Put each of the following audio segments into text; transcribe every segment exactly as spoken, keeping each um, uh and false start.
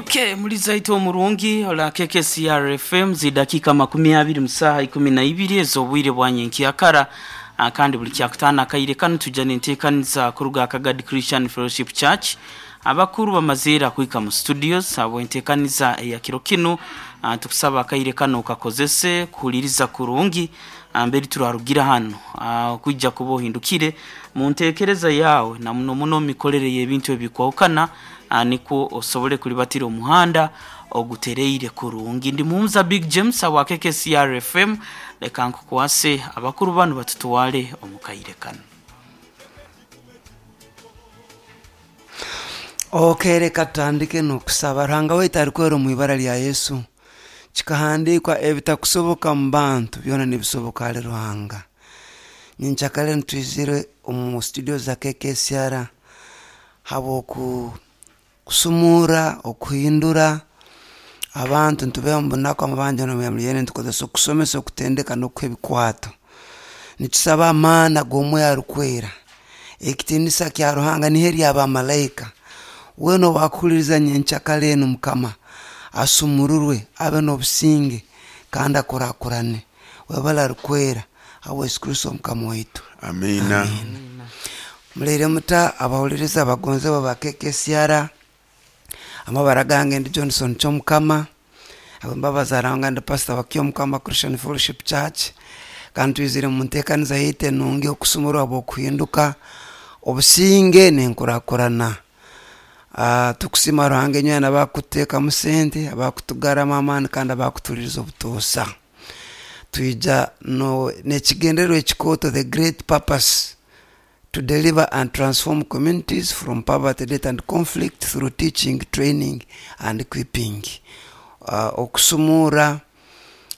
Okay, muliza itu omurungi ola K K C R F M zidakika makumi abiri musaha ikumi na ibiri ez'obwire bwa nyenkyakara kandi buli kyakutana akaire kanu tujja n'enteekaniza kuruga Kagadi Christian Fellowship Church. Abakuru bamazeera kuika mu studios abo enteekaniza eya kiro kinu tukusaba akaire kano kakozese kuhuliriza kurungi mbere turarugira hano kujja kuba ohindukire mu ntekereza yawe na muno muno mikorere y'ebintu ebikwawukana niko osobole kulibatira omuhanda ogutereire kurungi. Ndi Muhumuza Big James awa K K C R F M, leka nkukwase abakuru bano batutwale omukaire kano. Okay, reka tutandike n'okusaba. Ruhanga waitu arikwera omu ibara lya Yesu. Kikahandikwa ebitakusoboka mu bantu byona nibisoboka ahali Ruhanga. Nyenkyakare nitwizire omu studio za K K C R habw'oku kusumura okuhindura abantu nitubeho mu bunaku amabanja n'omuyamulyene nitukozesa okusomesa okutendeka n'okuha ebikwato. Nitusaba amaani ag'omwoyo arikwera, ekitiinisa kya Ruhanga niho eri abamalaika. Weena owakuhuliriza nyenkyakare enu Mukama asumururwe abe n'obusinge kandi akurakurane. Webale arikwera habwa Yesu Kristo Mukama waitu. Amina. Muleire muta abahuliriza abagonzebwa ba K K C R. Amabara gange ndi Johnson Kyomukama, abembabazi aranga ndi pastor wa Kyomukama Christian Fellowship Church. Kandi twizire mu nteekaniza yaitu enungi okusumurwa habw'okuhinduka obusinge n'enkurakurana. Uh, tukusima Ruhanga enywena abakuteekamu sente, abakutugarramu amaani kandi abakutuliriza obutuusa. Twija no n'ekigendererwa ekikooto, the great purpose to deliver and transform communities from poverty, death and conflict through teaching, training and equipping. Uh, okusumura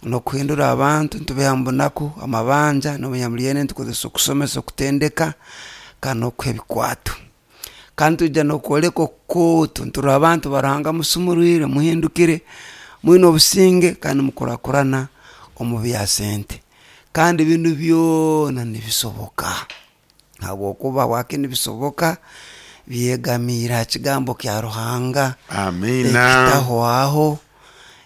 n'okuhindura abantu nitubeha mu bunaku amabanja n'omunyamulyene nitukozesa okusomesa okutendeka kandi n'okuha ebikwato. Kandi twija n'okwoleka okukooto nturora abantu ba Ruhanga musumurwire muhindukire mwine obusinge kandi mukurakurana omu bya sente. Kandi binu byona nibisoboka habwokuba wake nibisoboka byegamiire aha kigambo kya Ruhanga. Amina. Ekitahwaho,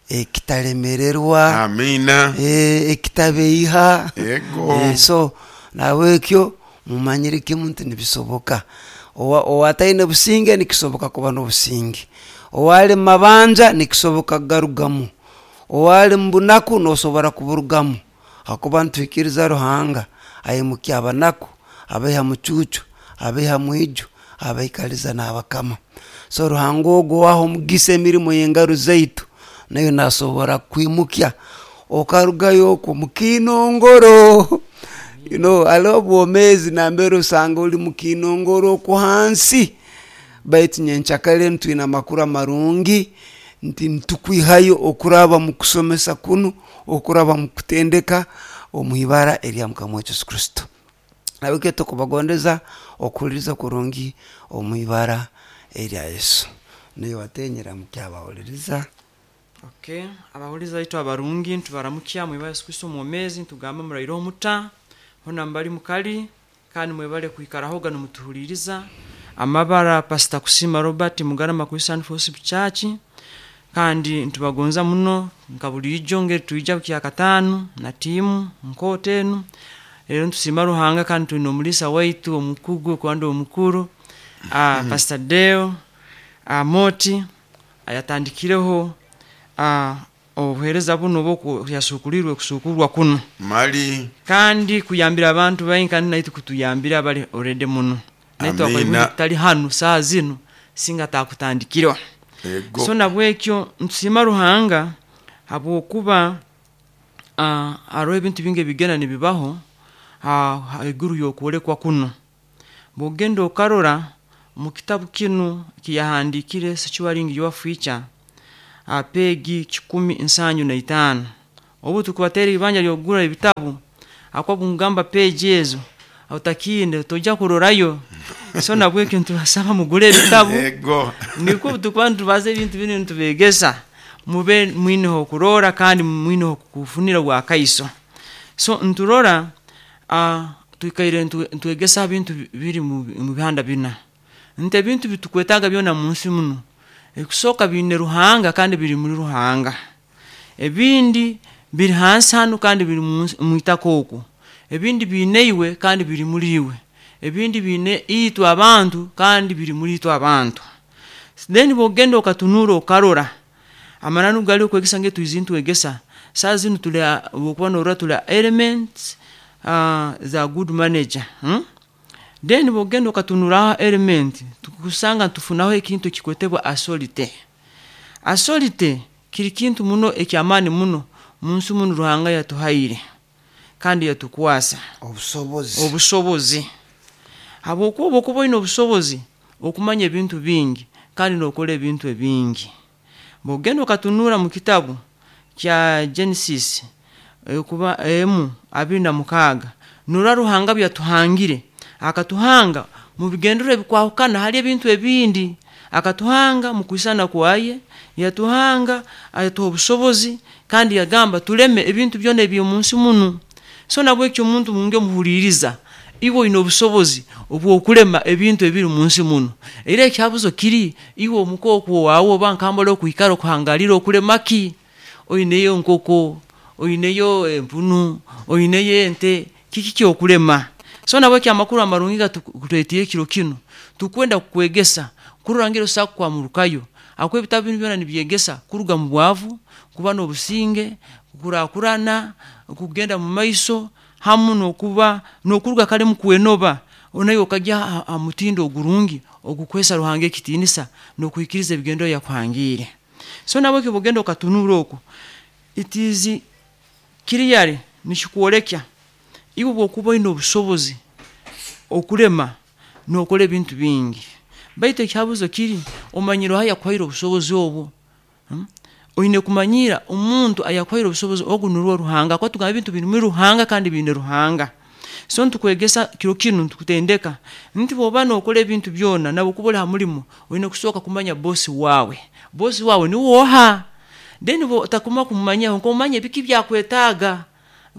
ekitalemererwa. Amina. E, ekitabeiha. Ego. E, so nabwekyo mumanyire kimu nti nibisoboka. Owataine businge nikisoboka kuba n'obusinge, owali mabanja nikisoboka kugarugamu, owali mubunaku nosobora kuburugamu, hakuba nituhikiriza Ruhanga aimukya abanaku, abaiha mucuucu, abaiha mwiju, abaikaliza n'abakama. So Ruhanga ogwo waha omugisa emirimo y'engaro zaitu nayo nasobora kwimukya okarugayo okwo mukinongoro. You know, hariho obwomeezi nambere osanga ori mukinongoro okwo hansi, baitu nyenkyakare ntwine amakuru amarungi nti nitukwihayo okuraba mu kusomesa kunu, okuraba mu kutendeka omu ibara erya Mukama waitu Yesu Kristo. Nabwe tukubagondeza okuhuliriza kurungi omu ibara erya Yesu. Niyo watenyera mukyabahuliriza. Okay, abahuliriza baitu abarungi ntubaramukya mu ibara Yesu Kristo omwomezi, ntugamba muraire omuta hona mbali mukali kandi mwebale kwikarahoga nimutuhuliriza. Amabara Pastor Kusima Robert Mugarama Christian Fellowship Church, kandi ntubagonza muno nka bulijo ngeri tuija kya katano na timu nkote enu. Rero ntusima Ruhanga kandi twine omulisa waitu omukugu kwandi omukuru ah, Pastor Deo Moti ayatandikireho ah, obuhereza buno bwo yasukulirwe kusukurwa kuno mali kandi kuyambira abantu baingi kandi naitu kutuyambira bali already muno naitu Amina. tutali hanu saa zino singa takutandikirwa. Ego. So nabwekyo ntusima Ruhanga habwokuba uh, hariho ebintu bingi ebigenda nibibaho haiguru y'okwolekwa kuno. Bwogenda okarora mu kitabu kinu kiyahandikire Securing Your Future pegi kikumi nsanju na itaano, obu tukubatera ibanja ly'okugura ebitabu akwa bungamba page ezo otakinde tojja kurorayo. So nabwekyo ntubasaba mugure ebitabu. Ego. Niko tukuba ntubaza ebintu binu ntubegesa mube mwineho okurora kandi mwineho kufunira bwakaiso. So nturora uh, tuikaire ntwegesa ebintu biri mu bihanda bina nti ebintu bitukwetaga byona mu nsi muno Ekusooka biine Ruhanga kandi biri muri Ruhanga. Ebindi biri hansi hanu kandi biri mu itaka okwo. Ebindi biine iwe kandi biri muri iwe. Ebindi biine itwe abantu kandi biri muri itwe abantu. Then bwogenda okatunura okarora amananu gali okwegesa nge tuizintu egesa saa zinu tuli bwokuba norora tuli elements uh, za good manager, hmm? Then bwogenda okatunura element tukusanga tufunaho ekintu ekikwetebwa authority. Authority kiri kintu muno ekyamaani muno munsi muno Ruhanga yatuhaire kandi yatukwasa obusobozi. Obusobozi habwokuba okuba oine obusobozi okumanya ebintu bingi kandi nokora ebintu ebingi. Bwogenda okatunura mu kitabu kya Genesis kuba emu abiri na mukaaga norora Ruhanga byatuhangire akatuhanga mu bigendero ebikwahukana hali ebintu ebindi. Akatuhanga mu kwisana kwaye, yatuhanga ayatuha obusobozi kandi yagamba tuleme ebintu byona eby'omunsi munu. So nabwekyo omuntu munge muhuliriza iwe oine obusobozi obw'okulema ebintu ebiri munsi muno. Era ekyabuzo kiri iwe omukooko wawe oba nkambala okuikara okuhangalira okulema ki? Oineyo enkoko, oineyo empunu, oineyo ente, kiki kyokulema? So nabwekyo amakuru amarungi gatukuleetiire ekiro kinu tukwenda kukwegesa kurora ngeri osobola kukwamurukayo. Ahakuba ebitabu binu byona nibyegesa kuruga mu bwavu, kuba n'obusinge, kukurakurana, kugenda mu maiso hamu n'okuba n'okuruga kare mu kwenoba onayo okajya ha mutindo ogurungi ogukwesa Ruhanga ekitiinisa n'okuhikiriza ebigendo yakuhangiire. So nabwekyo bwogenda okatunura okwo it is clearly nikikwolekya iwe bwokuba oine obusobozi okulema n'okora ebintu bingi. Baitu ekihabuzo kiri omanyire oha yakuhaire obusobozi obwo. Hmm? Oine kumanyira omuntu ayakuhaire obusobozi ogu nurwo Ruhanga. Kuba tugamba ebintu biri muri Ruhanga kandi biine Ruhanga. So ntukwegesa kiro kinu ntukutendeka nti bwoba nokora ebintu byona nabo kuba ori ha mulimo oine kusooka kumanya bosi wawe. Bosi wawe niwe oha? Then otakuma kumumanyaho nkomanya ebiki byakwetaaga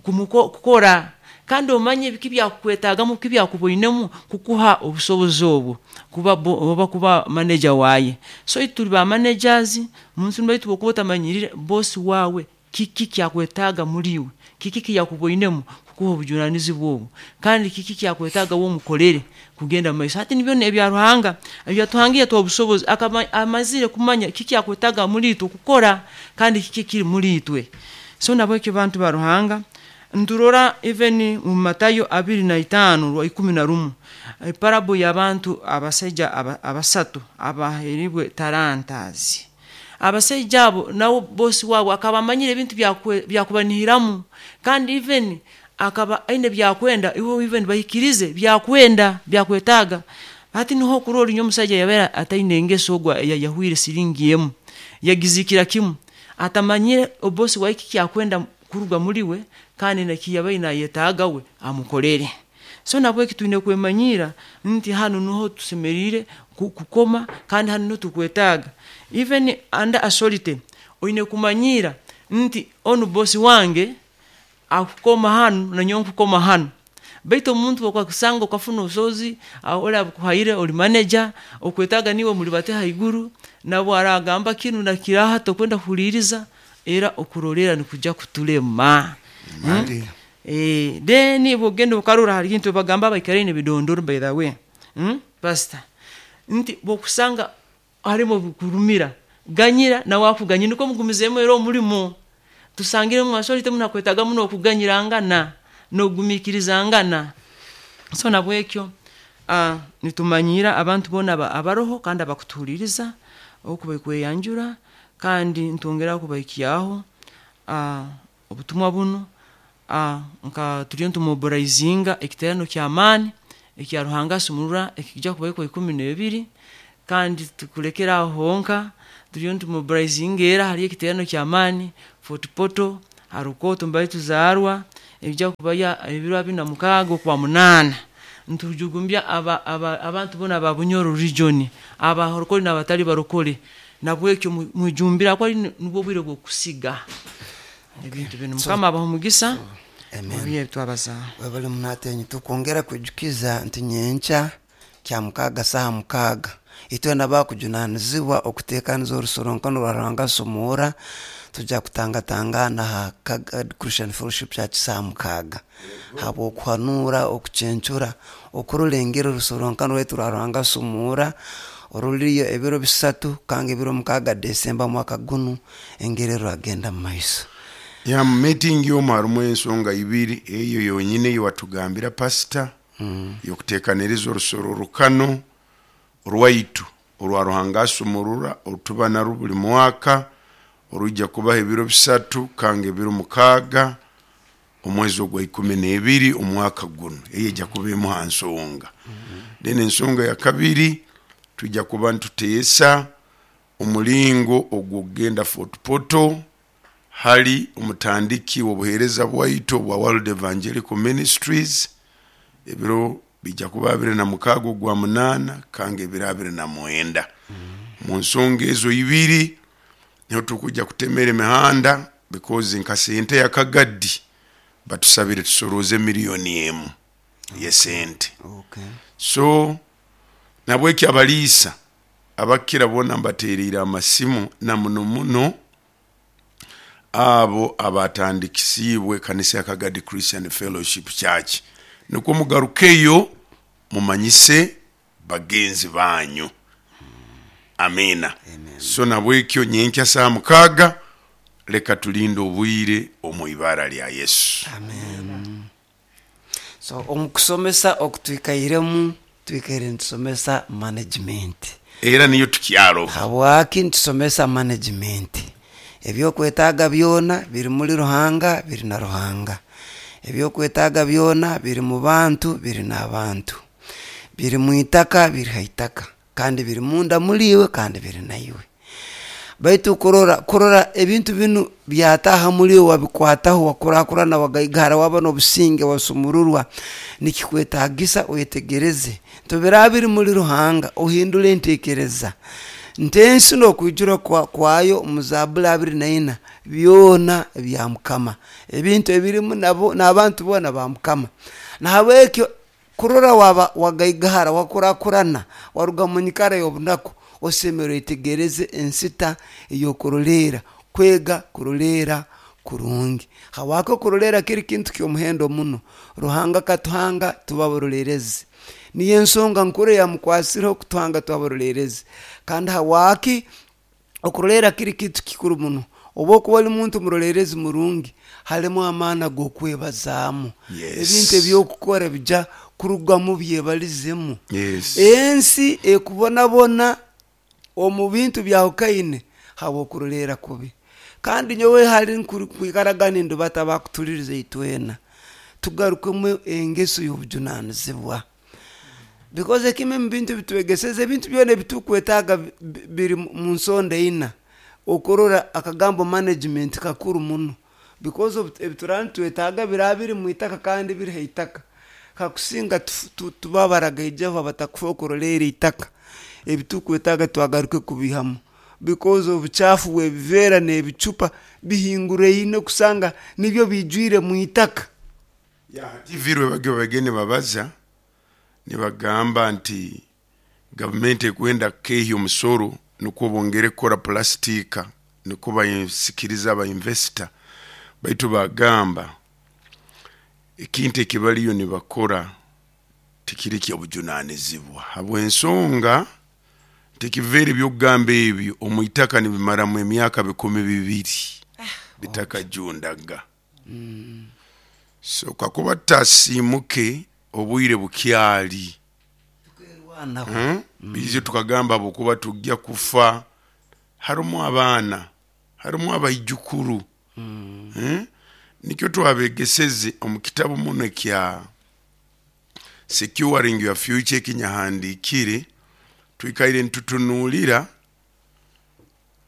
kukora kandi omanye ebiki byakukwetaagamu biki byakuboinemu kukuha obusobozi obwo kuba oba kuba manager waye. So tuli ba managers munsi baitu bwokuba otamanyirire bosi wawe kiki kyakwetaaga muri iwe, kiki kiyakuboinemu kukuha obujunanizibwa obwo kandi kiki kyakwetaaga womukorere kugenda mu maiso. Hati nibyo ebya Ruhanga ebyatuhangiire tuha obusobozi amazire kumanya kiki akwetaaga muri itwe kukora kandi kiki kiri muri itwe. So nabwekyo bantu ba Ruhanga nturora even mu Matayo abiri na itaano rwa ikumi na rumu parable y'abantu abasaija abasatu abaheribwe tarantazi. Abasaija abo nabo bosi wabo akaba amanyire ebintu byakubanihiramu kandi even akaba aine byakwenda iwe even bahikirize byakwenda byakwetaaga. Hati niho kurora inyo omusaija yabera ataine engeso ogwa yahwire siringi emu yagizikira kimu atamanyire obosi waiki kyakwenda kuruga muri we kandi nakiyabaye nayetaaga we amukorere. So nabweki twine kwemanyira nti hanu niho tusemerire kukoma kandi hanu niho tukwetaaga. Even under authority oine kumanyira nti onu bosi wange akukoma hanu nanyowe nkukoma hanu. Baitu omuntu okwakusanga okafuna obusobozi ori abukuhaire ori manager okwetaaga niwe muri bate haiguru nabo aragamba kinu nakiraha tokwenda kuhuliriza era okurorera nikuja kutulema. Hmm? Eh, then bwogenda okarora hari kintu bagamba abaikaraine bidondoro by the way. Hmm? Pastor nti bwokusanga harimo kurumira ganyira nawe akuganyira niko mugumizemu era omulimo tusangire mu authority munakwetaaga muno okuganyirangana n'okugumiikirizangana. So nabwekyo uh, nitumanyira abantu boona abaroho kandi abakutuhuliriza okubakweyanjura kandi ntwongera kubahikyaho uh, obutumwa buno uh, nka turiyo ntumobilizinga ekiterano ky'amaani ekya Ruhanga asumurura ekijja kubaho ikumi n'ebiri kandi tukulekera aho honka turiyo ntumobilizinga era hariyo ekiterano ky'amaani Fort Portal Harukoto mbaye tuzaarwa ebijja kubaya ebiro abiri na mukaaga okwa munaana. Ntujugumbya aba, aba, abantu bona aba Bunyoro region abarokole n'abatali barokole nabwekyo mwijumbira ko ari nubwo bwire bwo kusiga ebintu bino. Mukama abaha omugisa. Amen. Twabaza webale munatenyi tukwongera kwijukiza nti nyenkya kya mukaaga saha mukaaga Itwena bakujunanizibwa okuteekaniza orusoronkono rwa Ruhanga sumura, tujja kutangatangana ha Kagadi Christian Fellowship Church saa mukaaga, habw'okuhanura, okucencura, okurulengera orusoronkono rwaitu rwa Ruhanga sumura oruliyo ebiro bisatu kanga ebiro mukaaga Desemba mwaka gunu, engeri rwagenda mu maiso. Ya mu meeting yomu harimu ensonga ibiri, eyo yonyine eyewatugambira pasita mm. yokuteekaniriza orusororokano rwaitu orwa Ruhanga asumurura orutuba narwo buli mwaka, oruija kubaho ebiro bisatu kanga ebiro mukaaga omwezi ogwa ikumi n'ebiri omwaka guno, eyo ejja kuba emu ha nsonga. Then ensonga ya kabiri, tujja kuba nituteesa omulingo ogw'okugenda Fort Portal hali omutandiki w'obuheereza bwaitu obwa World Evangelical Ministries. Ebiro bijja kuba abiri na mukaaga ogwa munaana kanga ebiro abiri na mwenda. Mu nsonga ezo ibiri niho tukujja kutemera emihanda, because nka sente ya Kagadi batusabire tusorooze miliyoni emu y'esente. Okay. So nabweki abaliisa abakira boona mbateereire amasimu, na muno muno abo abatandikisiibwe kanisa ya Kagadi Christian Fellowship Church, nikwo mugarukeyo mumanyise bagenzi banyu. Amina. So nabwekyo nyenkya saa mukaaga leka tulinde obwire omu ibara lya Yesu. Amen. So omu kusomesa okutwikairemu, twikaire nitusomesa management, era niyo tukyaro. Habwaki nitusomesa management? Ebyokwetaaga byona biri muri Ruhanga, biri na Ruhanga. Ebyokwetaaga byona biri mu bantu, biri n'abantu, biri mu itaka, biri ha itaka, kandi biri munda muri iwe, kandi biri naiwe. Baitu kurora kurora ebintu binu byataha muri iwe, wabikwataho, wakurakurana, wagaigara, waba n'obusinge, wasumururwa, nikikwetagisa oyetegereze tobiraba biri muri Ruhanga, ohindule entekereza ntensi n'okwijura kwa, kwayo mu Zaburi abiri na ina, byona bya Mukama, ebintu ebirimu nabo n'abantu boona ba Mukama. Nahabwekyo kurora waba wagaigahara, wakurakurana, waruga mu nyikara y'obunaku, osemere oyetegereze ensita ey'okuroleera, kwega kuroleera kurungi. Habwaki okuroleera kiri kintu ky'omuhendo muno? Ruhanga akatuhanga tuba abaroleerezi, niyo ensonga nkuru eyamukwasireho kutuhanga tuba abaroleerezi. Kandi habwaki okuroleera kiri kintu kikuru muno? Oba okuba oli muntu muroleerezi murungi, harimu amaani ag'okwebazaamu. Yes. Ebintu ebyokukora bijja kurugamu byebalizemu. Yes. Ensi ekubonabona omu bintu byahukaine habw'okuroleera kubi. Kandi nyowe hali nkwikaraga nindubata bakutuliriza itwena tugarukemu engeso y'obujunanizibwa, because ekimwe mu bintu bitwegeseze, ebintu byona ebitukwetaaga bi- bi- biri mu nsonda ina. Okurora akagambo management kakuru muno, because obu- ebituraba nitwetaaga biraba biri mu itaka kandi biri ha itaka. Kakusinga tufu- tu- tuba baragaijaho abatakufa okuroleera itaka, ebitukwetaaga twagaruke kubihamu, because obucafu bw'ebiveera n'ebicupa bihinguraine kusanga nibyo bijwire mu itaka. Ya T V rwe bagyo bagende babaza nibagamba nti gavumenti ekwenda kukehya omusoro nukwo bongere kukora pulastika, nukwo basikiriza abainvesita, baitu bagamba ekintu ekibaliyo nibakora tikiri kyobujunanizibwa, habw'ensonga nti ekiveera ebyokugamba ebyo omu itaka nibimaramu emyaka bikumi bibiri bitakajundaga. So kakuba tutasiimuke obwire bukyali, Tukerwanaho. Hmm? Biizo tukagamba habwokuba tujja kufa, harimu abaana, harimu abaijukuru. Hmm? Nikyo twabegeseze omu kitabu muno ekya Securing Your Future ekinyahandiikire, twikaire nitutunuulira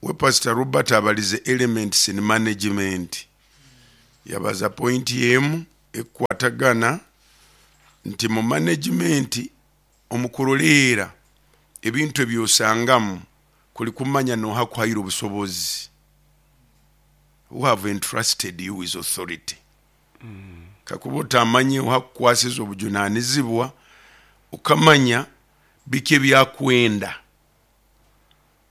we Pastor Robert abalize elements in management, yabaza point emu ekukwatagana nti mu management omukuroleera ebintu ebyosangamu kuli kumanya noha kuhaire obusobozi, who have entrusted you with authority. Kakuba otamanye oha kukwasiza obujunanizibwa, ukamanya biki ebyakwenda.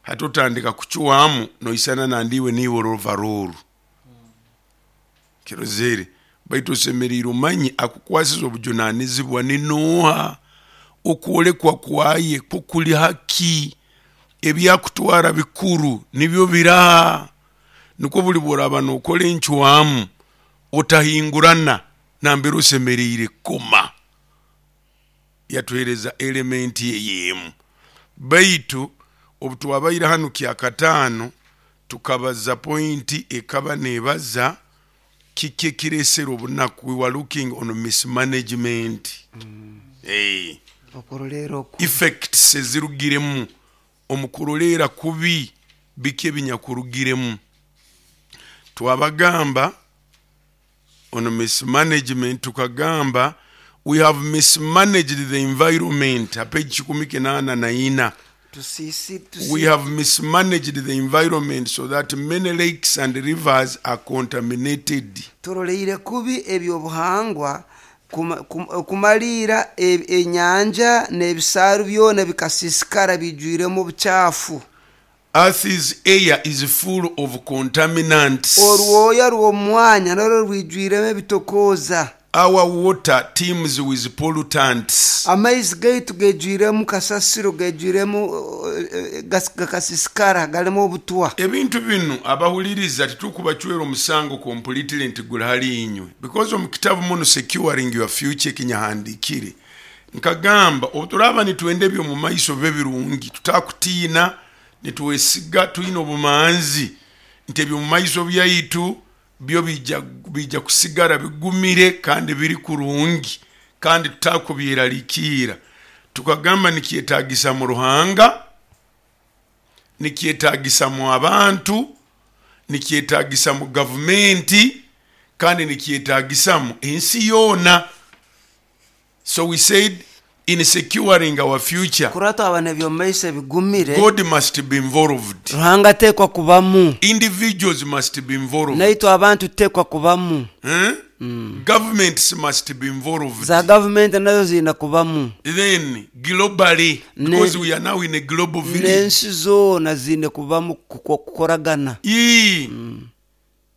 Hati otandika kucwamu noisana nandiwe niiwe orovaroru kirozere, baitu osemeriire omanye akukwasiza obujunanizibwa ni nooha, okwolekwa kwaye kwo kuli haki, ebyakutwara bikuru nibyo biraha. Nikwo buli bworaba nokora encwamu otahingurana nambere osemeriire kukoma. Yatuhereza elementi ey'emu. Baitu obu twabaire hanu kyakataano tukabaza pointi ekaba nebaza kiki ekiresere obunaku. We were looking on mismanagement. mm. Hey. Okuroleera oku Effects ezirugiremu omu kuroleera kubi, biki ebinyakurugiremu. Twabagamba on mismanagement, tukagamba we have mismanaged the environment, ha page kikumi kinaana na ina. Tusisi We have mismanaged the environment so that many lakes and rivers are contaminated. Turoleire kubi ebyobuhangwa kuma- kum- kumaliira e- enyanja n'ebisaaru byona bikasiisikara bijwiremu obucaafu. Earth's air is full of contaminants. Orwoya rw'omwanya narwo rwijwiremu ebitokooza. Our water teems with pollutants. Amaizi gaitu gejwiremu kasasiro, gejwiremu eh, eh, gas- gakasiisikara, galimu obutwa. Ebintu binu abahuliriza titukubacwera omusango completely nti guli hali inywe, because omu kitabu muno Securing Your Future ekinyahandikire nkagamba obu turaba nitwenda ebyomu maiso bibe birungi, tutakutiina, nitwesiga, twine obumanzi nti ebyomu maiso byaitu byo bija, bija kusigara bigumire kandi biri kurungi kandi tutakubyeralikiira. Tukagamba nikyetagisa mu Ruhanga, nikyetagisa mu abantu, nikyetagisa mu gavumenti, kandi nikyetagisa mu ensi yoona. So we said in securing our future, Kurora twabona ebyomumaiso ebigumire, God must be involved, Ruhanga ateekwa kubamu, individuals must be involved, naitwe abantu tuteekwa kubamu, eh? Governments must be involved, za gavumenti nazo ziina kubamu, then globally, Ne- because we are now in a global village. N'ensi zoona ziine kubamu kuko- kukoragana. Yee.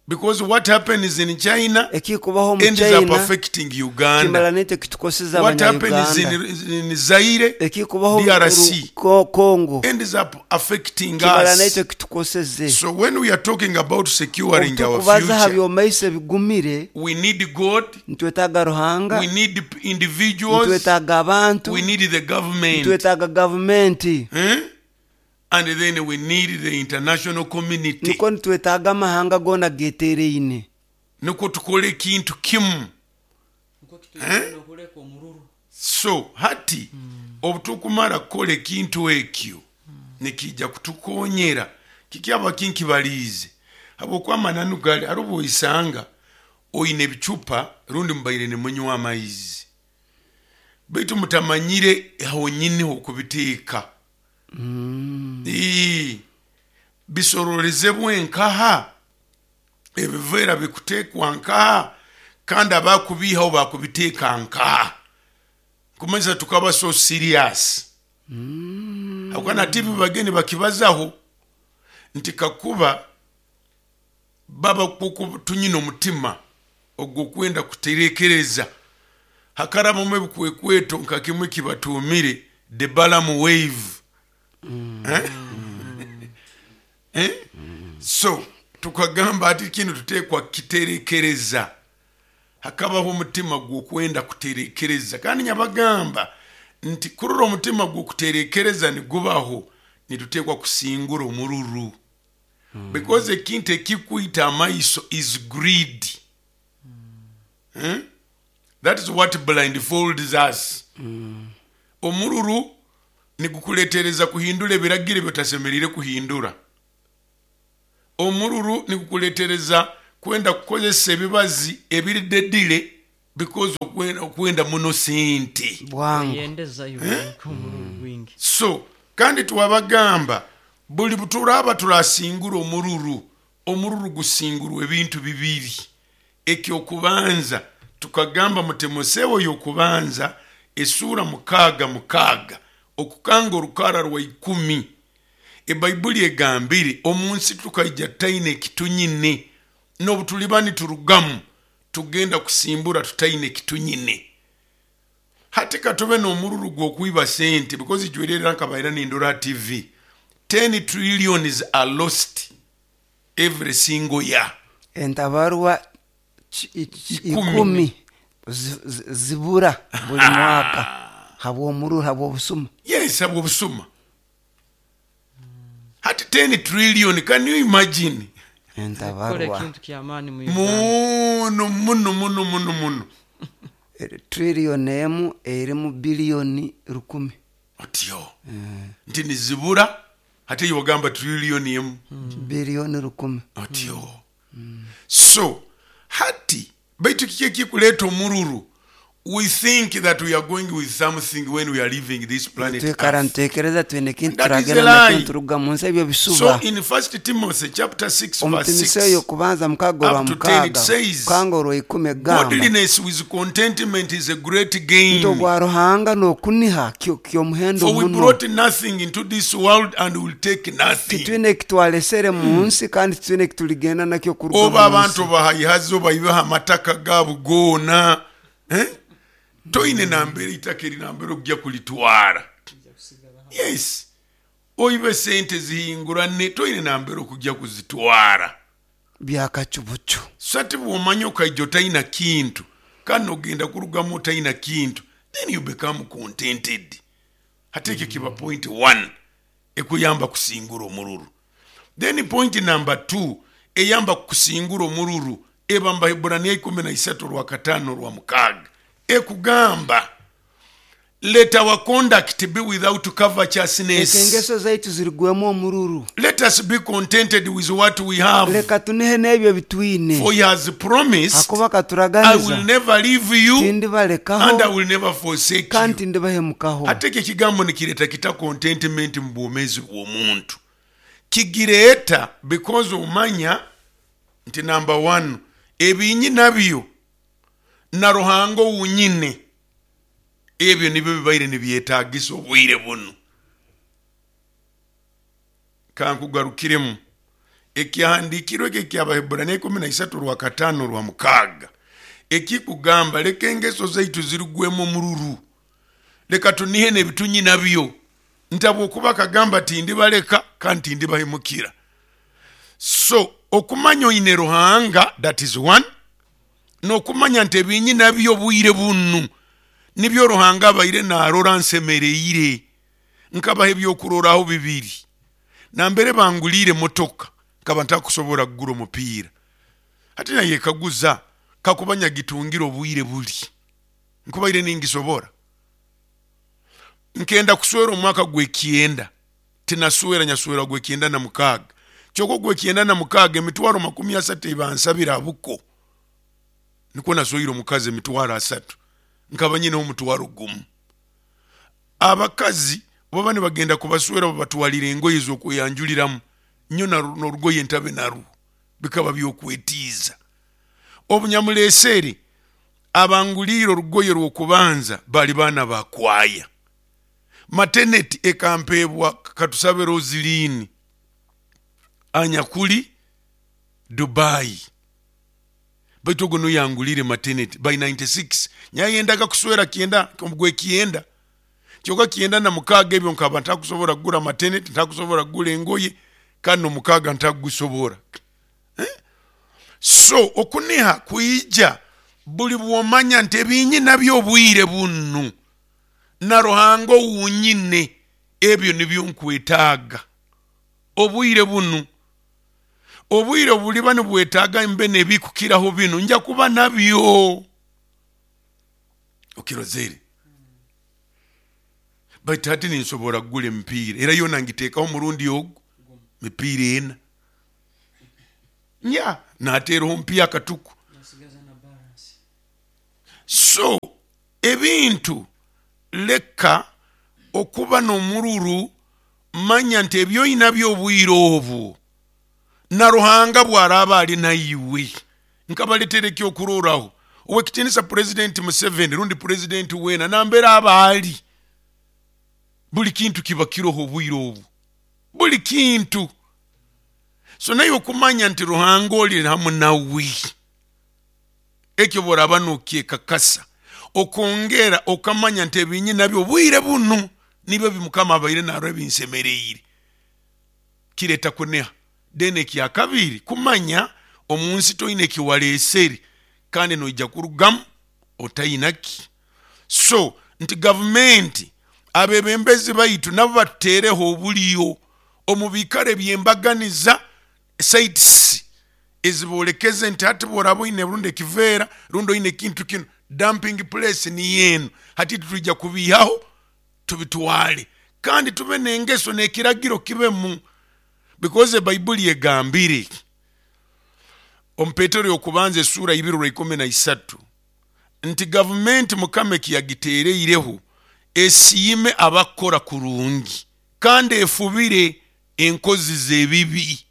Because what happens in China Ekikubaho mu ends up China affecting Uganda. kimara nitwe kitukoseza What happens Abanyayuganda. in, in Zaire, Ekikubaho mu D R C, Ru- Ko- Congo ends up affecting kimara us. naitwe kitukoseze. So when we are talking about securing our Obutukubaza ha future, byomaiso ebigumire, we need God, nitwetaaga Ruhanga, we need individuals, nitwetaaga abantu, we need the government, nitwetaaga gavumenti, eh? And then we need the international community. Niko nitwetaaga amahanga goona getereine. Nukwo tukole ekintu kimu. Nukwo kituyambe okuleka omururu. So hati obu tukumara kukora ekintu ekyo nikijja kutukonyera kikyaba kinkibaliize, habwokuba amananu gali ari obwoisanga oine ebicupa rundi mubaire nimunywa amaizi baitu mutamanyire honyini hokubiteeka. Ii, bisororezebwe nkaha, ebiveera bikuteekwa nkaha, kandi abakubiihaho bakubiteeka nkaha, kumanyisa tukaba so serious mm. Habwokuba na T V bageni bakibazaho nti kakuba baba kuku tunyina omutima ogwokwenda kuterekereza hakarabamu ebikwekweto nka kimwe kibatumire the Balaam wave. Eh? Eh? So tukagamba ati kino tuteekwa kiterekereza, hakabaho omutima gwokwenda kuterekereza, kandi nyabagamba nti kurora omutima gwokuterekereza nigubaho nituteekwa kusingura omururu, because ekintu ekikwita amaiso is greed. Eh? That is what blindfolds us. Omururu nigukuletereza kuhindura ebiragiro ebyotasemeriire kuhindura. Omururu nigukuletereza kwenda kukozesa ebibazi ebiri dedile because okwenda, okwenda muno sente. Bwangu. Yendeza iwe omururu gwingi. So kandi twabagamba buli buturaba turasingura omururu, omururu gusingurwa ebintu bibiri. Ekyokubanza tukagamba mu Timosewo yokubanza esura mukaaga mukaaga okukanga orukara rwa ikumi, Ebaibuli egambire omunsi tukaija tutaine ekitunyine, n'obu tuliba niturugamu tugenda kusimbura tutaine ekitunyine. Hati katube n'omururu gw'okwiba sente, because ijwerera nkabaira nindora T V, ten trillions are lost every single year. Entabarwa ikumi zibura buli mwaka habw'omururu, habw'obusuma. Yes, habw'obusuma. Hati ten trillion, can you imagine? Entabarwa muno muno muno muno muno. Trillion emu erimu biliyoni rukumi. Otyo nti nizibura, hati yogamba trillion emu biliyoni rukumi. Otyo. So hati baitu kiki ekikuleta omururu? We think that we are going with something when we are leaving this planet Earth. So in First Timothy chapter six verse six up to ten it says, godliness with contentment is a great gain. For we brought nothing into this world and will take nothing. Oba abantu bahayihazo bayibaha amataka gaabo goona. Eh? Toine nambere itaka eri nambere okujja kulitwara. Yes. Oibe sente zihingurane toine nambere okujja kuzitwara. Byakacubucu. Sati bw'omanya okaija otaina kintu, kandi ogenda kurugamu otaina kintu, then you become contented. Hati ekyo kiba point one ekuyamba kusingura omururu. Then point number two eyamba kusingura omururu eba mu Baheburaniya ikumi na isatu rwa katano rwa mukaaga ekugamba, let our conduct be without covetousness. Engeso zaitu zirigwemu omururu. Let us be contented with what we have. Leka tunihe n'ebyo bitwine. For he has promised, Hakuba katuraganiza, I will never leave you, tindibalekaho, and I will never forsake you. Kandi tindibahemukaho. Ate ekyo ekigambo nikireta kita contentment mu bwomeezi bw'omuntu. Kigireeta because omanya nti number one, ebinyi nabyo na Ruhanga wunyine ebyo nibyo bibaire nibyetagisa obwire buno. Kankugarukiremu ekyahandikirwe ekyo eky'Abaheburaniya ikumi na isatu rwa katano rwa mukaaga ekikugamba leka engeso zaitu zirugwemu omururu, leka tunihe n'ebitunyi nabyo, ntabwokuba kagamba tindibaleka kandi tindibahemukira. So okumanya oine Ruhanga, that is one, n'okumanya nti ebinyi nabyo obwire bunu nibyo Ruhanga abaire narora nsemereire. Nkabaha ebyokuroraho bibiri. Nambere bangulire motoka nkaba ntakusobora kugura omupiira. Hati nayekaguza kakuba nyagitungira obwire buli nkubaire ningisobora. Nkenda kuswera omwaka gw'ekyenda, tinaswera nyaswera gw'ekyenda na mukaaga. Kyokka gw'ekyenda na mukaaga emitwaro makumi asatu ebansabira abuko, nikwo naswire omukazi emitwaro asatu, nkaba nyine omutwaro gumu. Abakazi baba nibagenda kubaswera babatwalira engoye z'okweyanjuliramu, nyo n'orugoye ntabe narwo, bikaba byokwetiiza. Obunyamuleesere abanguliire orugoye rw'okubanza bali baana bakwaya. Mateneti ekampebwa katusabe Rosilini anyakuli Dubai, baitu ogwo nuyangulire mateneti by ninety-six. Nyayendaga kuswera kyenda gwe kyenda, kyokka kyenda na mukaaga ebyo nkaba ntakusobora kugura mateneti, ntakusobora kugura engoye, kandi omukaaga ntakugusobora. Eh? So okuniha kuija buli bwomanya nti ebinyi nabyo obwire bunu na Ruhanga wunyine ebyo nibyo nkwetaaga obwire bunu. Obwire buliba nibwetaaga mbe nebikukiraho bino nja kuba nabyo. Okirozere baitu hati ninsobora kugura emipiira, era yona ngiteekaho omurundi ogu mipiira ena nya nateeraho omupiira akatuku. So ebintu leka okuba n'omururu, manya nti ebyo oyinabyo obwire obwo na Ruhanga bwaraba ali naiwe. Nkabaletera ekyokuroraho owekitinisa President Museveni rundi President wena nambere aba ali, buli kintu kiba kiroho obwire obwo. Buli kintu. So naye okumanya nti Ruhanga oli hamu nawe, ekyo bworaba nokyekakasa, okongera okamanya nti ebinyi nabyo obwire buno nibyo bimukama abaire narwo ebinsemereire, kireta kuneha. Then ekyakabiri, kumanya omunsi toine ekiwaleesere kandi noija kurugamu otainaki. So nti gavumenti abebembezi baitu nabo batuteereho obuliyo omu biikaro ebyembaganiza, sites ezibolekeze nti hati bworaba oine rundi ekiveera rundi oine ekintu kino, dumping place niyo eno, hati tutwija kubiihaho tubitwale, kandi tube n'engeso n'ekiragiro kibemu, because ebaibuli egambire omu Petero y'okubanza essuura ibiri rwa ikumi na isatu nti gavumenti Mukama ekiyagiteereireho esiime abakora kurungi kandi efubire enkozi z'ebibi.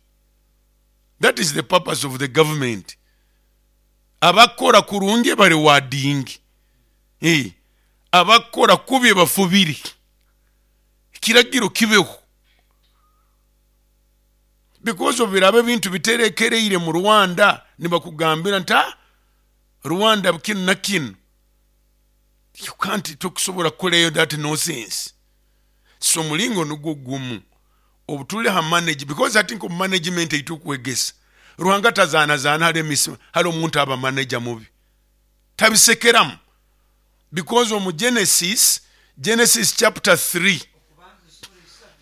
That is the purpose of the government. Abakora kurungi barewadingi, eh, abakora kubi bafubire, ekiragiro kibeho. Because obiraba ebintu biterekereire mu Rwanda, nibakugambira nti ah, Rwanda kinu na kinu, you can't tokusobola kukorayo that nonsense. So mulingo nugwo gumu obutuli ha manage, because I think omu management eitukwegesa Ruhanga tazaanazaana, hali emisi hali omuntu aba manager mubi tabisekeramu, because omu Genesis, Genesis chapter three,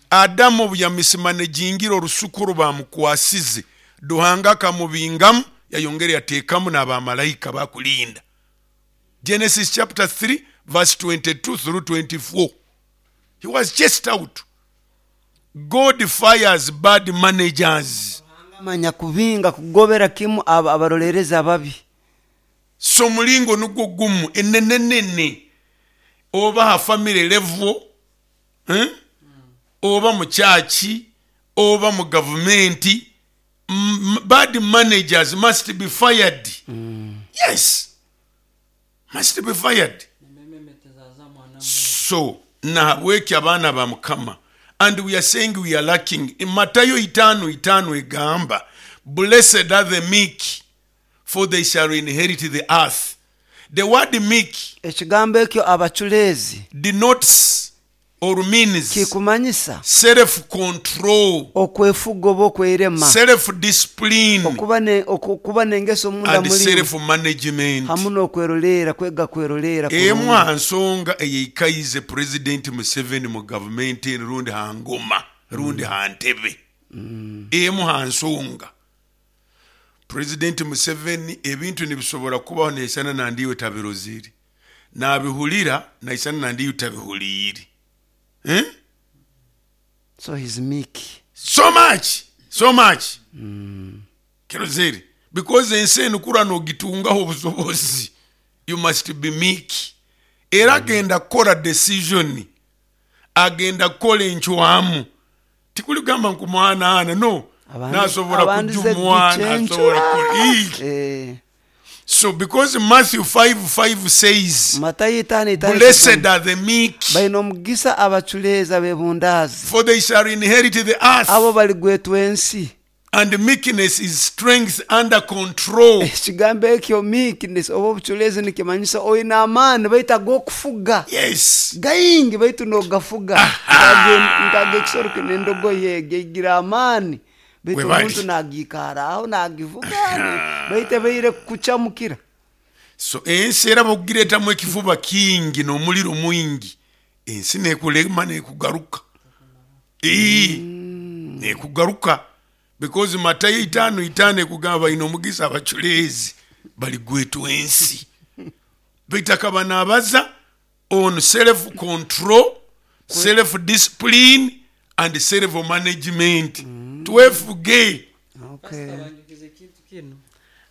Adamu obu yamisimanejingira orusuku rubamukwasize, Ruhanga akamubingamu yayongera yateekamu n'abamalaika bakulinda. Genesis chapter three verse twenty-two through twenty-four, he was chased out. God fires bad managers. Manya kubinga kugobera kimu aba abarolereza ababi. So mulingo nugwo gumu enenenene oba ha family level, eh? Oba mu church oba mu government, m-, bad managers must be fired. Mm. Yes, must be fired. So nahabweki abaana ba Mukama, and we are saying we are lacking. In Matayo itano itano egamba, blessed are the meek, for they shall inherit the earth. The word meek ekigambo ekyo abaculeezi denotes or means kikumanyisa self control, okwefuga oba okwerema, self discipline, okuba ne, okuba n'engeso munda and muri self management, hamu n'okwerolera, kwega kwerolera emu kurungi. ha nsonga eyeikaize President Museveni mu gavumenti rundi ha ngoma rundi ha ntebe, Mm. emu ha nsonga President Museveni ebintu nibisobora kubaho naisana nandiwe tabirozire, nabihulira naisana nandiwe tabihuliire. Eh? So he's meek. So much, so much. Mm. Kirozere, because ensi eno kura nogitungaho obusobozi, you must be meek. Era agenda kukola decision, agenda kukola encwamu, tikuligamba nkumwanaana, no. Abandi- Nasobola abandi ze kujumwana, gicencu. asobola kukola. Ii. Eh. So because Matthew five five says, Matayo itaano itaano blessed are the meek, balina omugisa abaculeezi abebundaazi, for they shall inherit the earth. abo baligwetwa ensi. And meekness is strength under control. Ekigambo ekyo meekness oba obuculeezi nikimanyisa oyina amaani baitu ag'okufuga. Yes. Gaingi baitu nogafuga. Nkaga ekisoro kino endogoyi egi egira amaani baitu Webali. omuntu nagiikara aho nagivuga baitu ebaire kucamukira. So ensi era bokugiretamu ekifuba kingi n'omuliro mwingi, ensi nekulema nekugaruka. Ii, Mm. nekugaruka. Because Matayo itaano itaano ekugamba balina omugisa abaculeezi baligwetwa ensi. Baitu akaba naabaza on self control, self discipline and self management. Mm. Twefuge. Okay. Banjukize ekintu kino.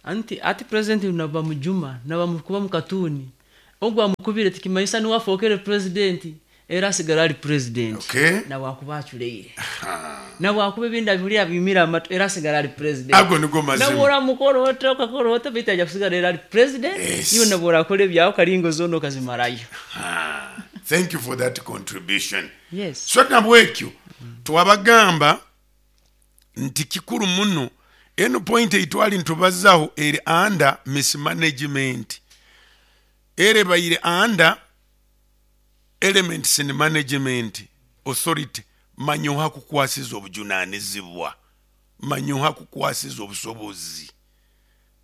Anti ati president naba mujuma naba mukuba mukatuni ogwo amukubire tikimanyisa niwe afookere president, era asigara ali president. Okay. Nawakuba aculeire, nawakuba ebindi abihulira abimira amatu, era asigara ali president. Ago nigo mazima. Nabwora mukoro ota okakora ota baitu ajja kusigara era ali president. Yes. Iwe nabwora akora ebyawe karingo zona okazimarayo. Thank you for that contribution. Yes. So nabwekyo Twabagamba nti kikuru muno eno point eitwali ntubazaho eri under mismanagement, ere baire under elements in management authority. Manyoha kukwasiza obujunanizibwa, manyoha kukwasiza obusobozi,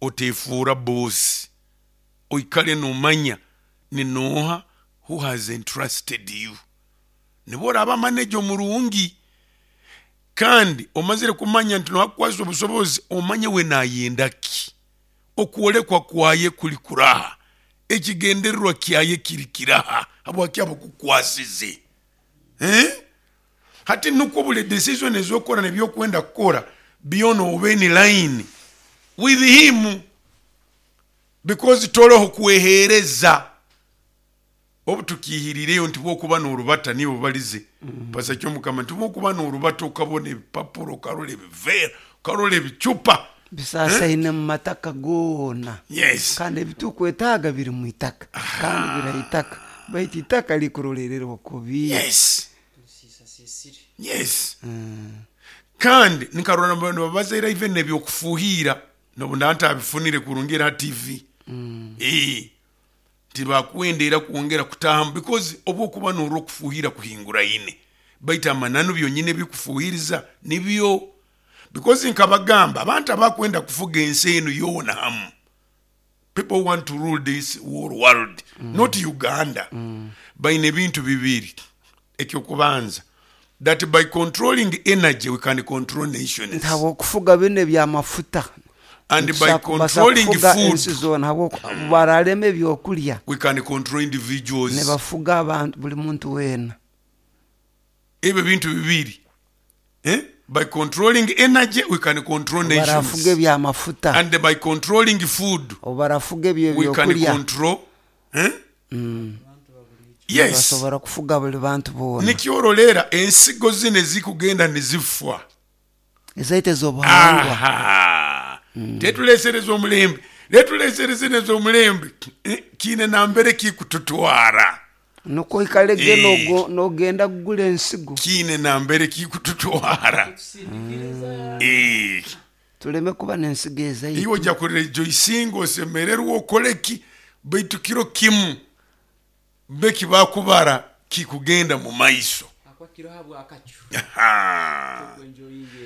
otefuura boss, oikale nomanya ni noha who has entrusted you. Nibo oraba manager omurungi, kandi omazire kumanya nti noha kukwasiza obusobozi, omanye we nayenda ki, okwolekwa kwaye kuli kuraha, ekigendererwa kyaye kiri kiraha, habwaki abakukwasize. Eh? Hati nukwo buli decision ezokora nebyokwenda kukora byona obe in line with him, because toroho kwehereza. Obu tukihirireyo nti bwokuba n'orubata nibo balize mm. Pasa kyo mukama nti bwokuba n'orubata okabona ebipapuro, okarora ebivera, okarora ebicupa bisasaine mu mataka gona. Yes. Kandi ebitukwetaaga biri mu itaka, kandi biraitaka, baitu itaka likurolererwa kubi. Yes. Yes. Mm. Kandi nkarora babazaira even ebyokufuhira nobunda ntabifunire kurungira T V. Mm. Eh. Tibakwendera kuongera kutahamu because obwokuba n'orwokufuhira kuhingura ine. Baita amananu byonyine bikufuhiriza nibyo, because nkabagamba abantu abakwenda kufuga ensi eno yona hamu. People want to rule this whole world, mm. not Uganda. Mm. Baine bintu bibiri. Ekyokubanza, that by controlling energy we can control nations. Ntabwo kufuga bine bya mafuta. And by controlling food, ntabwo baraleme ebyokulya. We can control individuals. Ne bafuga abantu buli muntu wena. Ebyo bintu bibiri. Eh? By controlling energy we can control nations. Barafuga bya mafuta. And by controlling food, barafuga ebyo we can byokulya. Control, eh? Mm. Yes. Basobora kufuga buli bantu bona. Nikyorolera ensigo zine zikugenda nezifwa. Ezaite zobuhangwa. Aha. Mm. Tetulesereza omulembe. Letulesereze nezomulembe. Kine nambere kikututwara. Nuko ikalege e. nogo nogenda kugula ensigo. Kine nambere kikututwara. Mm. Eh. Tuleme kuba nensigo ezaite. Iwe ojja kurejoisinga osemererwa okoleki baitu kiro kimu beki bakubara kikugenda mu maiso.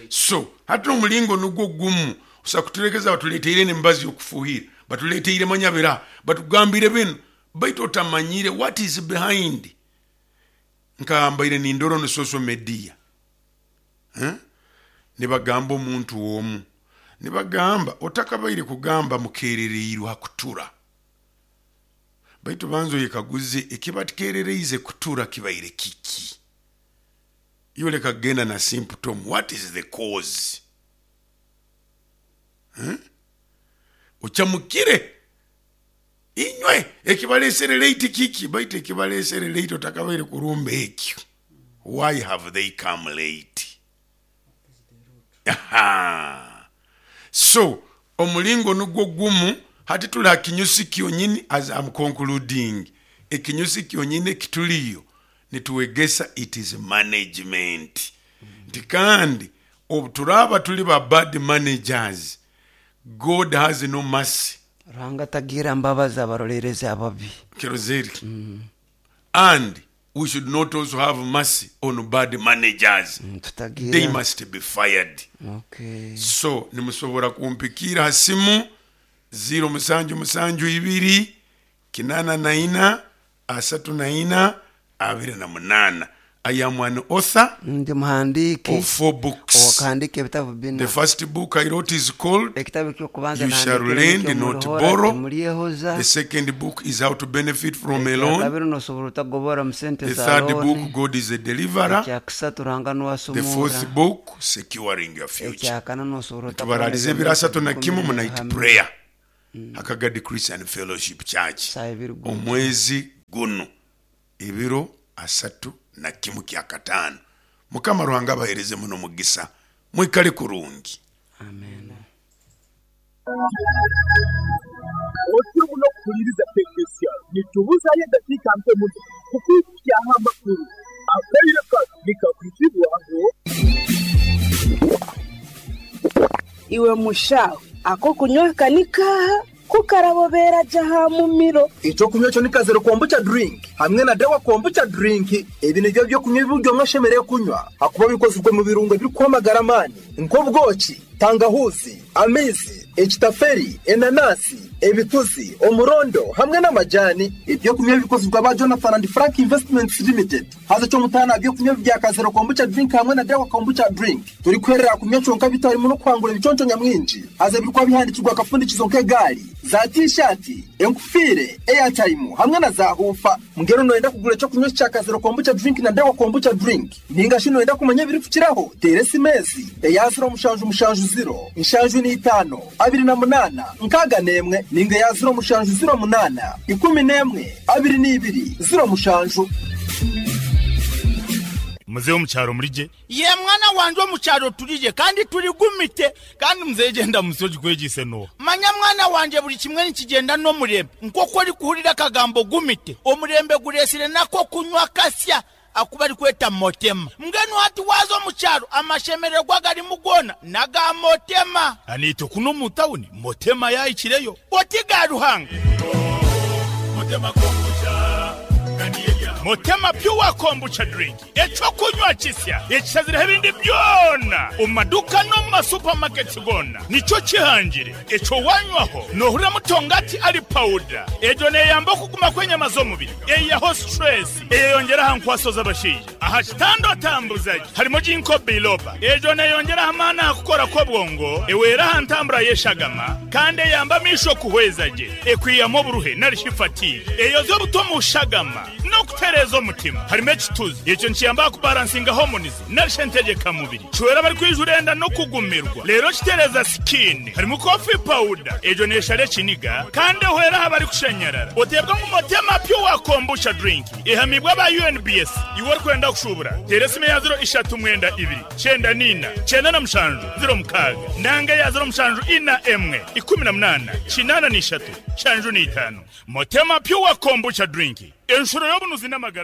So hati omulingo nugwo gumu osakuturekeza batuleteire nembazi yokufuhira, batuleteire manyabira, batugambire bino, baitu otamanyire what is behind. Nkambaire nindoro no social media. Eh? Nibagamba omuntu omu, nibagamba otakabaire kugamba mukerereirwa kutura. Baitu banzo yekaguze ekibatikerereize kutura kibaire kiki. Yole kagenda na symptom, what is the cause? Hmm? Ochamukire inywe ekibalesere late kiki, baitu ekibalesere late otakabaire kurumba ekyo. Why have they come late? Aha. So omulingo nugwo gumu. Hati tuli kinyusi kyonyini, as I'm concluding, ekinyusi kyonyini kituliyo nituwegesa it is management. Nti kandi obuturaba tuli ba bad managers, God has no mercy. Ruhanga tagira mbabazi abarolereza ababi. Kirozeri. Mm. And we should not also have mercy on bad managers. Mm, tutagira. They must be fired. Okay. So nimusobora kumpikira hasimu zero musanju musanju ibiri kinana na ina asatu na ina abiri na munana. I am an author Ndi muhandiki of four books. Owakahandika ebitabo bina. The first book I wrote is called Ekitabo ekyokubanza You Shall Lend Not Borrow. Temulyehoza. The second book is How to Benefit from a Loan. Ekyakabiri nosobola otagobora mu sente The za third loan. book, God is a Deliverer. Ekyakusatu Ruhanga The nuwasumura. fourth book, Securing Your Future. Ekyakana nosobola Tubaralize ebiro asatu na kimu mu night prayer. Akagadi Christian Fellowship Church. Omwezi guno ebiro asatu na kimu kya katano. Mukama Ruhanga abahereze muno mugisa. Mwikale kurungi. Amen. Otyo muno kuhuliriza K K C R. Nitubuzayo eddakiika ntono kukuukyaho amakulu. Akaire kano nikakwitibwaho. Iwe mushaho ako kunywa kanikaha kukarabobera jaha mumiro. Ekyokunywa ekyo ni kazero kombucha drink hamwe na dawa kombucha drink. Ebi nibyo byokunywa ebiryo mwashemereire kunywa hakuba bikozirwe mu birungo ebirikwamagara amaani nk'obwoki, tangahuzi, amaizi, ekitaferi, enanasi, ebituzi, omurondo hamwe n'amajani. Ebyokunywa bikozirwe aba Jonathan and Frank Investments Limited. Haza ky'omutaano byokunywa bya kazero kombucha drink hamwe na dawa kombucha drink turikwerera kunywa kyonka bitarimu n'okuhangura ebiconco nyamwingi. Haza ebirikuba bihandikirwa akafundikizo nk'egaari, za t-shirt, enkufiire, airtime hamwe na za hufa. Mbwenu noyenda kugura ekyokunywa kya kazero kombucha drink na dawa kombucha drink ninga shi noyenda kumanya ebirikukiraho, teera esimesi eya ziro mushanju mushanju ziro nshanju n'itaano abiri na munana nkaaga n'emwe ninga eya ziro mushanju ziro munana ikumi n'emwe abiri n'ibiri ziro mushanju. Muzehe omukyaro murije? Ye mwana wanje, omukyaro turije kandi turigumite. Kandi muzehe genda musoji kwegise no. Manya mwana wanje, buli kimwe nikigenda n'omurembe. Nk'oku orikuhurira akagambo gumite, omurembe guresire nako kunywa kasya akuba ari kweta motema. Mbwenu hati waza omukyaro amashemererwa garimu gona naga motema. Anito kuno mu tawuni motema yayikireyo. Oti ga Ruhanga. Motema kombucha. Motema pure kombucha drink ekyokunywa kisya ekishazireho ebindi byona omu maduka no mu masupamaketi gona nikyo kihangire. Ekyo wanywaho nohurira mutongati ari powder. Egyo neyamba okuguma kw'enyama z'omubiri, eyaho stress, eyeyongera aha nkwaso z'abashaija aha kitanda otambuzaje. Harimo ginkgo biloba, egyo neyongera amaani aha kukora kw'obwongo, ewera aha ntambura y'eshagama kandi eyamba amisho kuhweza gye, ekwiyamu oburuhe narishi fatigue, eyoza obuto mu shagama n'okutereeza omutima. Harimo ekituzi, ekyo nikiyamba kubalansinga hormones narishi entegekamubiri, kiwera abari enda no kugumirwa rero kitereza skin. Harimo coffee powder, egyo neshara ekiniga kandi ehwera aha bari kushanyarara. Oteebwa ngu motema pure kombucha drink ehamibwa aba U N B S. Iwe orikwenda kushubura, teera esimu ya ziro ishatu mwenda ibiri kyenda nina kyenda na mushanju ziro mukaaga nanga ya ziro mushanju ina emwe ikumi na munana kinana n'ishatu shanju n'itaano. Motema pure kombucha drink, enshuro y'obunuzi n'amagara.